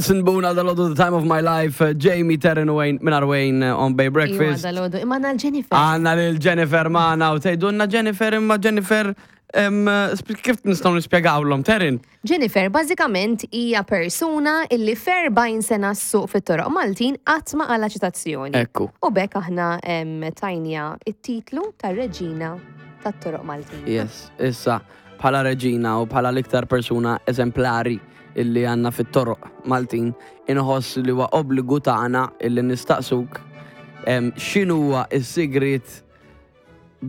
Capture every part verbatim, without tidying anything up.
Sinbuna dal-għodu the time of my life, uh, Jamie Terren Wayne, minn Wayne uh, on Bay Iwa Breakfast. dal-għodu. Imma għandna l-Jennifer. Għandna lil Jennifer magħna u tgħidulna Jennifer imma Jennifer em, sp- kif nistgħu nispjegawlhom Terren? Jennifer bażikament hija persuna illi f'erbgħin sena ssuq fit-toroq Maltin qatt ma qala' ċitazzjoni. Ekku. U b'hekk aħna em, tajnieha it-titlu tar-reġina tat-toroq Maltin. Yes, issa bħala reġina u bħala l-iktar persuna eżemplari illi għandna fit-toroq Maltin, inħoss li huwa obbligu tagħna illi nistaqsuk em, x'inhuwa s-sigrit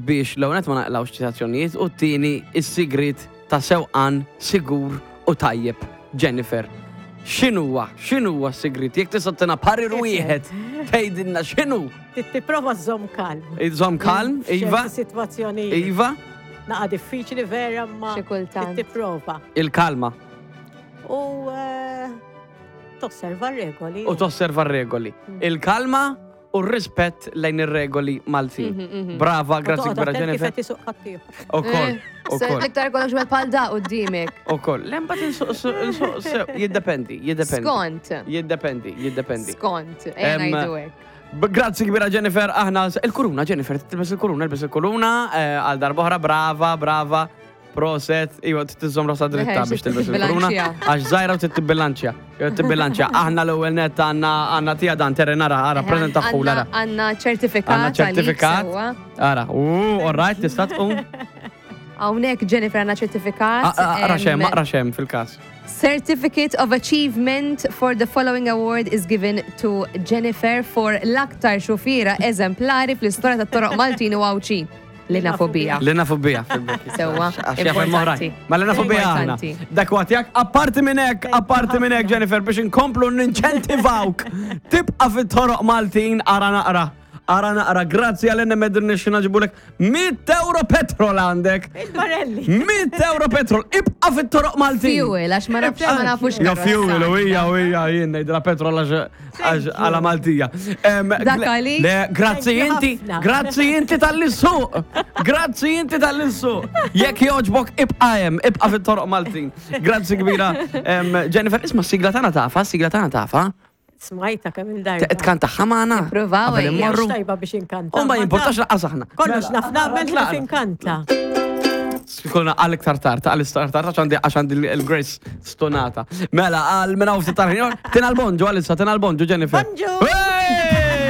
biex l-ewwel ma naqlawx ċitazzjonijiet u t-tieni is-sigrit ta' sewqan sigur u tajjeb. Jennifer, x'inhuwa, x'inhuwa s-sigrit? Jekk tista' tina parir wieħed tgħidilna x'inhu? Tipprova żżomm kalm. Iżomm kalm, Iva, F'ċerti sitwazzjonijiet. Iva, Naqa diffiċli vera ma Xi kultant. tipprova. Il-kalma. U eh, tosserva regoli. U tosserva r-regoli. Il-kalma u r-rispett lejn ir-regoli Maltin. Brava, grazzi kbira Kif Jennifer. qed isuq ħaddieħor. Ukoll, ukoll, Iktar kollok xwed pal da qudiemek. ukoll. Lemba insuq sew, jiddependi, jiddependi. Skont. Jiddependi, jiddependi. Skont. Ejja Em, ngħidu hekk. B- Grazzi kbira Jennifer, aħna il-kuruna Jennifer, tilbes il-kuruna, ilbes il-kuruna, eh, għal darb'oħra, brava, brava, proset, iwa tiżżomm rasha dritta Eħe, biex tilbes il-kuruna, tibbilanċja. għax żgħira u tibbilanċja, jew tibbilanċja. Aħna l-ewwel net għandna għandna tija dan terren ara, ara, preżenta ħul ara. Għandna ċertifikat. Għandna għalik ċertifikat. sewwa. Ara, u, all right, tista' tqum. Hawnhekk Jennifer għandna ċertifikat. Aqra xem, em, aqra xem fil-każ. Certificate of Achievement for the following award is given to Jennifer for l-aktar xufiera eżemplari fl-istorja tat-toroq Maltin u Għawdxin. Li nafu bija. Li nafu bija fil-bokki. Sewwa, Għax jaf hemm oħrajn. importanti. Ma li nafu bija aħna. Importanti. Dak huwa tiegħek, apparti minn hekk, apparti minn hekk Jennifer biex inkomplu ninċentivawk. Tibqa' fit-toroq Maltin ara naqra. Ara naqra, grazzi għal Enemed nixxina ġibulek mitt euro petrol għandek. Il-barelli. mitt euro petrol, ibqa' fit-toroq Maltin. Fuel, għax ma nafx ma nafux Ja karozza. fuel, u hija, u hija, jien ngħidilha petrol għax għax għala Maltija. Em, Dak le- għalik? Le, grazzi Thank you inti, ħafna. grazzi inti talli ssuq. Grazzi inti talli ssuq. Jekk jogħġbok ibqa' hemm, ibqa' fit-toroq Maltin. Grazzi kbira. Em, Jennifer, isma' sigla tagħna tafa, sigla tagħna tafa. Smajta kemm il-darba. Tkanta magħna. Nippruvaw, Qabel ejja. immorru. Tajba biex inkanta. U ma jimportax lanqas aħna. Kollox naf nagħmel Mela. kif inkanta. Kolna għal iktar tard, għal iktar tard, għax għandi għax għandi il-Grace stonata. Mela, għal minna u ftit tar tina l-bonġu, għalissa, tina l-bonġu, Jennifer. Bonġu! Hey!